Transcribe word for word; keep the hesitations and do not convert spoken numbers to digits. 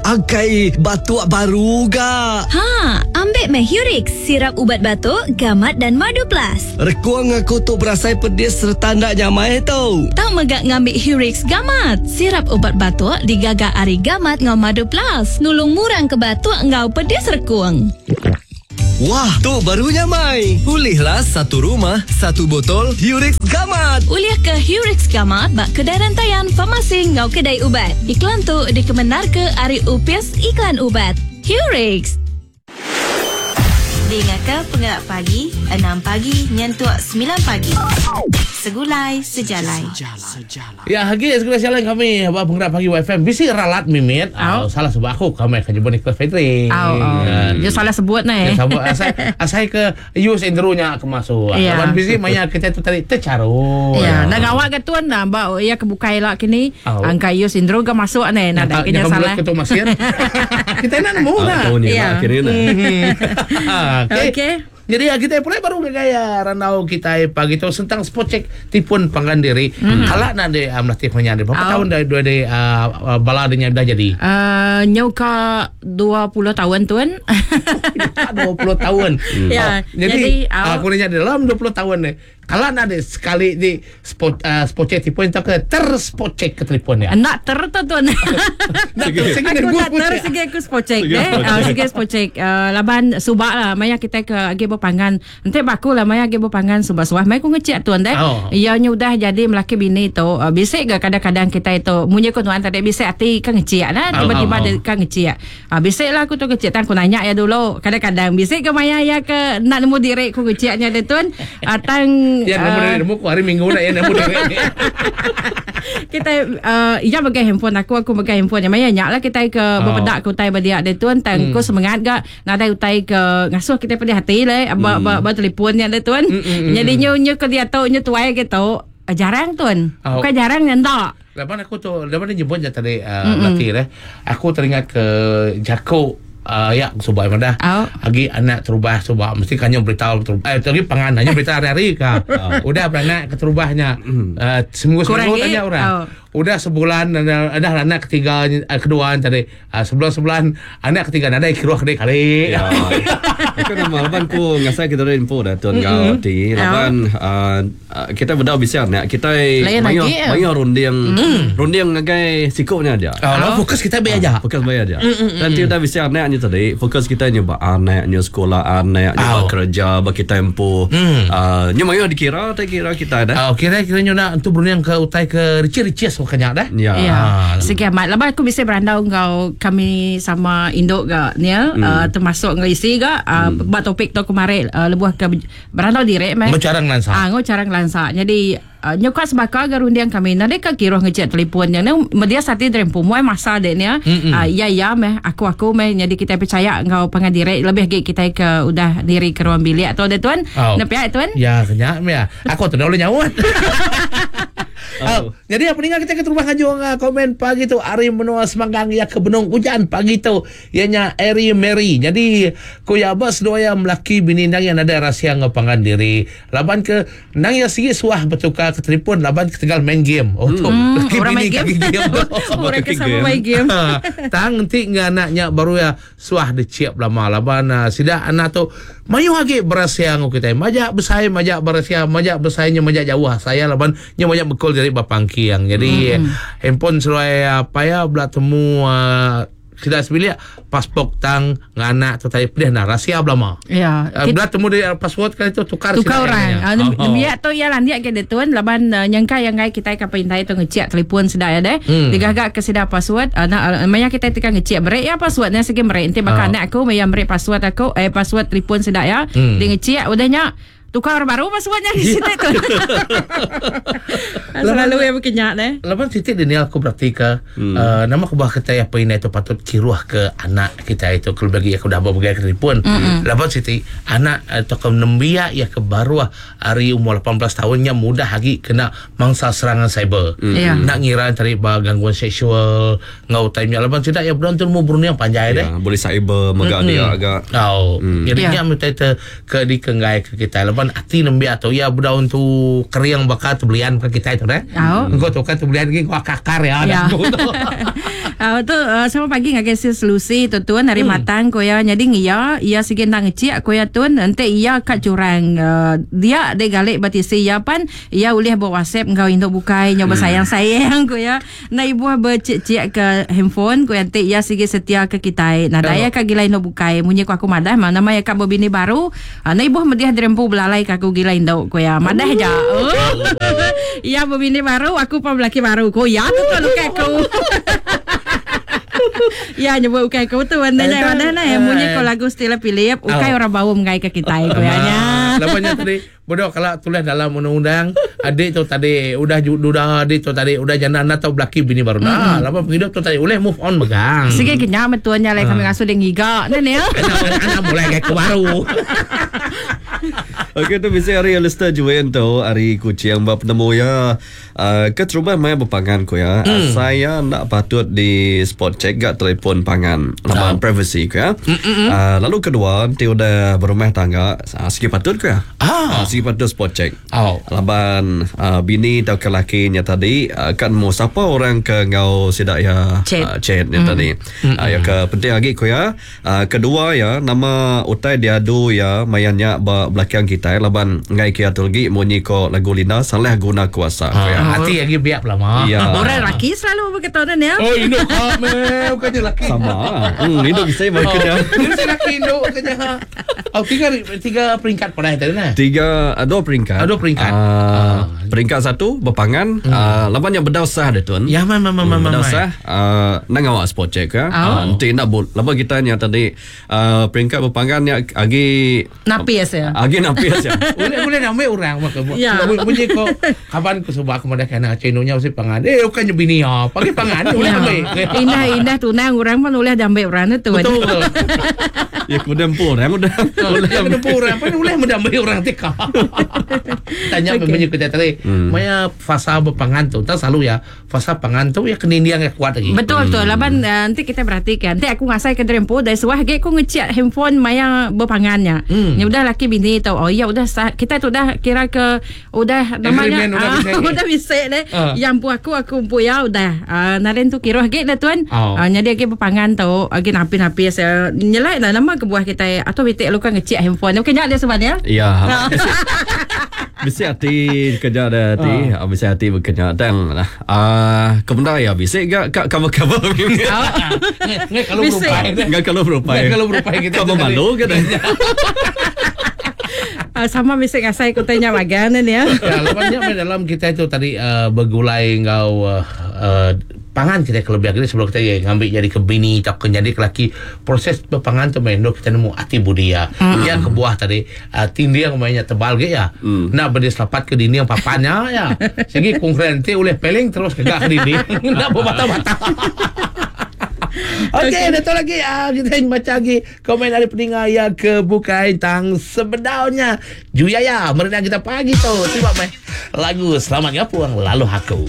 Angkai batuk baru ga. Ha, ambil meh Hurix, sirap ubat batuk, gamat dan madu plus. Rekung aku tu berasai pedis serta ndak nyamai tu. Tau megak ngambil Hurix gamat. Sirap ubat batuk digaga ari gamat ngau madu plus. Nulung murang ke batuk ngau pedis rekung. Wah, tu baru nyamai. Ulihlah satu rumah, satu botol Hurix Gamat. Ulih ke Hurix Gamat bak kedai rantaian farmasi ngau kedai ubat. Iklan tu dikemenar ke ari Upis Iklan Ubat. Hurix. Dengar ke penggerak pagi, enam pagi nyentuk sembilan pagi. Segulai sejalai. Ya, hagi segulai sejalai kami ba penggerak pagi Y F M. Bisi ralat mimit. Oh. Salah sebab aku kami akan jumpa Nicholas Frederick. Oh, oh. Ya. Dia salah sebut ni. Ya, sebut asai asai ke use Andrew-nya ke masuk. Ya. Lawan bisi maya kita tu tadi tercarut. Ya, nak awak ke tuan dah ba ya kebukai lah kini. Oh. Angka use Andrew ke masuk ni. Nak dah kena salah. Ketua masir. Kita nak nemu dah. Ya. Okey. Okey. Jadi kita pula baru gaya randau kita pagi tu tentang spot check tipun panggan diri. Mm-hmm. Kalau nak de um, latih punya de berapa oh. tahun dah dua de uh, bala dia dah jadi? Uh, nyauka dua puluh tahun tuan. dua puluh tahun. Hmm. Ya. Oh, jadi, jadi oh. aku nanya dalam dua puluh tahun ni. Kalau nak ada sekali di spot uh, spot check tipun tak ke ter spot check ke telefon ya. Nak ter tu tuan. Nak ter aku tak ter segi aku spot check eh. Uh, segi spot check uh, laban subak lah maya kita ke agi berpangan. Nanti baku lah maya agi berpangan subak suah. Maya aku ngecek tuan deh. Oh. Ia nya udah jadi melaki bini tu. Uh, bisik ke kadang-kadang kita itu munyi ku tuan tadi bisik hati kan ngecek nah tiba-tiba oh, oh, oh. Dia kan ngecek. Uh, bisik lah aku tu ngecek tang aku nanya ya dulu. Kadang-kadang bisik ke maya ya ke nak nemu diri aku ngeceknya deh tuan. Uh, tang ya, nemu dari nemu hari Minggu nak ya nemu dari. Kita uh, ia megang handphone aku, aku megang handphone. Yang maya nyak lah kita ke oh. berpedak ke utai berdiak dia tuan, tang hmm. ku semangat gak nadai utai ke ngasuh kita pedih hati lah, ba ba, ba telefonnya dia tuan. Hmm, hmm, Jadi nyu nyu ke dia tu nyu tuai gitu. Jarang tuan. Oh. Bukan jarang nyentak. Lepas aku tu, lepas dia nyebut je tadi uh, latih eh. Aku teringat ke Jako. Uh, ya subak mana oh. Agi anak terubah subak mesti kanyo berita terubah eh lagi pangan hanya berita hari-hari ka. Oh. Udah beranak keterubahnya uh, seminggu seminggu tanya orang. Oh. Udah sebulan ada anak ketiga kedua tadi uh, sebulan-sebulan anak ketiga ada kiruh kedai kali. Ya. Aku nama laban ku ngasai kita ada info dah tuan kau ti laban uh, kita berdau bisa anak kita mayo mayo runding runding ngagai sikopnya aja. Oh, fokus kita be aja. Fokus be aja. Dan ti udah bisa anaknya tadi fokus kita nyoba anak nyo sekolah anak nyoba oh. kerja bagi tempo mm. uh, nyo mayo dikira tak kira kita dah. Oh, kira kira nyo nak untuk berunding ke utai ke rici-rici makanya dah. Ya. Ya. Segi amat lepas aku bisa berandau ngau kami sama induk ga ni mm. uh, termasuk ngau isi ga uh, mm. buat topik tu kemarin uh, lebuh ke berandau direk meh. Ngau carang lansa. Ah ngau carang lansa. Jadi Uh, nyukat sebaka agar rundiang kami nanti ke kiroh ngecek telefon yang ni media sati terempu muai masa dek ni uh, ya ya meh aku aku meh jadi kita percaya ngau pangan direk lebih gig kita ke udah diri ke ruang bilik atau ada tuan oh. Nak pihak tuan ya kenyak ya aku tu dah boleh nyawa. Oh. Oh, jadi apa dengar kita ke rumah ngajung uh, komen pagi tu Ari Menua Semanggang ya ke Benung hujan pagi tu ianya Ari Mary. Jadi ku ya bas dua yang melaki bini nang yang ada rahsia ngapangan diri. Laban ke nang ya sigi suah bertukar ke telefon laban ketegal main game. Oh tu hmm, laki orang bini main game. Kaki game. Orang ke sama main game. Tang nanti anaknya baru ya suah diciap lama laban uh, sida anak tu mayu lagi berahsia ngau kita. Majak besai majak berahsia majak besainya majak jauh saya laban nya majak bekol dari bapangki yang jadi mm-hmm. handphone seluai apa ya belah temu uh, tidak sebilik pasport tang nganak tu tadi pedih nah rahsia belama. Ya. Uh, belah temu dia password kali tu tukar tukar orang. Ah uh, oh. Biar tu ya landiak ke dia tuan laban uh, nyangka yang ngai kita ka pintai tu ngecek telefon sedak ya deh. Hmm. Digagak ke sedak password uh, nak uh, maya kita tekan ngecek merek ya passwordnya segi merek nanti bakal Oh. anak aku maya merek password aku eh password telefon sedak ya. Hmm. Dia ngecek udahnya tukar baru passwordnya di situ tu. Selalu yang berkenyak deh. Lapan titik Daniel aku berarti ke hmm. uh, nama aku bah kita apa ini itu patut kiruh ke anak kita itu kalau bagi aku dah bawa ke telefon. Mm-mm. Lapan titik anak atau ke nembiak ya ke baru hari umur lapan belas tahunnya mudah lagi kena mangsa serangan cyber. Mm. Yeah. Nak ngira tadi bah gangguan seksual ngau time nya lapan tidak ya belum tu umur yang panjang deh. Ya, boleh cyber megak dia agak. Oh, Mm. jadi Yeah. nya minta ke di kenggai ke kita lapan hati nembiak atau ya budak untuk keriang bakal terbelian ke kita itu deh. Oh. Engkau tu kan terbelian lagi kau kakar ya. Ya. dah. Uh, tu uh, sama pagi ngagai sis Lucy tu tuan hari hmm. matang ko ya. Jadi ngia ia sige ndang ngecik ko ya tuan ente ia kat curang uh, dia de galik batisi ya pan ia ulih buat WhatsApp ngau induk bukai nyoba hmm. sayang-sayang ko ya. Na ibu bercik-cik ke handphone ko ente ia sige setia ke kita. Nah daya ka gila induk bukai munyi ko aku madah mana nama ya ka bini baru. Uh, na ibu mediah dirempu belalai ka aku gila induk ko ya. Madah ja. Oh. Ia bini baru aku pun lelaki baru ko ya tu tu lukai aku. Ya nyebut ukai kau tu anda nya mana nah yang munyi ko lagu Stella Philip ukai orang bau mengai ke kita ko ya nya. Lamanya tadi bodoh kalau tulis dalam undang-undang adik tu tadi udah udah adik tu tadi udah janda anda tau belaki bini baru nah lama penghidup tu tadi boleh move on megang. Sige kenya metuanya lai kami ngasuh dia ngiga nah ni. Anak mulai kayak ke baru. Okey tu bisa hari Alistair Juwen tu hari kucing bab penemu ya. Uh, keterubah mai berpangan ko ya. Mm. Saya nak patut di spot check gak telefon pangan laman oh. privacy ko ya. Uh, lalu kedua nanti udah berumah tangga uh, sikit patut ko ya. Ah. Uh, sikit patut spot check. Oh. Laban uh, bini atau ke lakinya tadi uh, kan mau siapa orang ke ngau sidak ya chat, uh, chatnya mm. tadi. Uh, ya ke penting lagi ko ya. Uh, kedua ya nama utai diadu ya mayanya ba belakang kita laban ngai kia tu lagi munyi ko lagu Lina salah guna kuasa ha, ya. Hati lagi biak lama. Ya. Orang laki selalu berkata ni ya. Oh induk ha me bukannya laki. Sama. Hmm induk bisa berkena. Ini saya laki induk kena. Oh tiga tiga peringkat pada tadi nah. Tiga dua peringkat. Dua peringkat. Uh, ah. Peringkat satu berpangan hmm. uh, laban yang bedau sah dia tuan. Ya ma ma ma ma. Bedau sah uh, nang awak spot check ya. Oh. Nanti nak bol. Laban kita nya tadi uh, peringkat berpangan nya agi napis ya. Agi napis ya. Boleh boleh nak ambil orang maka. Ya. Bunyi ko kapan ku sebab aku madah kana cenonya mesti pangan. Eh bukannya bini ya. Pagi pangan boleh ambil. Indah-indah tunang orang pun boleh diambil orang tu. Betul. Ya ku dempu orang udah. Boleh dempu orang pun boleh mendambil orang tika. Tanya okay. Bunyi kita tadi. Hmm. Maya fasa berpangan tu tak selalu ya. Fasa pangan tu ya kenindiang yang kuat lagi. Betul betul. Laban uh, nanti kita perhatikan. Nanti aku ngasai ke dempu dari suah ge aku ngecek handphone maya berpangannya. Hmm. Ya udah laki bini tau. Oh ya udah kita tu dah kira ke udah namanya udah ah, bisa, udah bisa deh. Uh. Yang pu aku aku pu ya udah. Uh, naren tu kira ge dah tuan. Oh. Uh, jadi ge berpangan tu agi napi-napi saya nyelai dah nama kebuah kita atau bitik lu kan ngecek handphone. Okey nyak dia sebenarnya. Ya. Bisa hati kerja ada hati, uh. bisa hati bekerja tang lah. Ah, kebenar ya bisa gak kak cover-cover. Nggak kalau berupai. Nggak kalau berupai. Nggak kalau berupai kita. Kamu malu kan? Uh, sama bisa ngasai ku tanya magan ni ya. Ya, lepas dalam kita itu tadi uh, bergulai ngau uh, uh, pangan kita kelebihan kita sebelum kita ya, ngambil jadi ke bini atau ke jadi ke laki proses berpangan tu main kita nemu hati budi ya. Mm. Yang ke buah tadi uh, tindiang mainnya tebal ge ya. Mm. Nak berdiri selapat ke dinding papannya ya. Segi kongkrente oleh peling terus ke gak ke dinding. Nak berbata-bata. Okey, okay, datang lagi ah, kita baca lagi komen dari pendengar yang ke bukai tang sebenarnya. Juyaya, merenang kita pagi tu. Terima mai lagu Selamat Ngapuang Lalu Aku.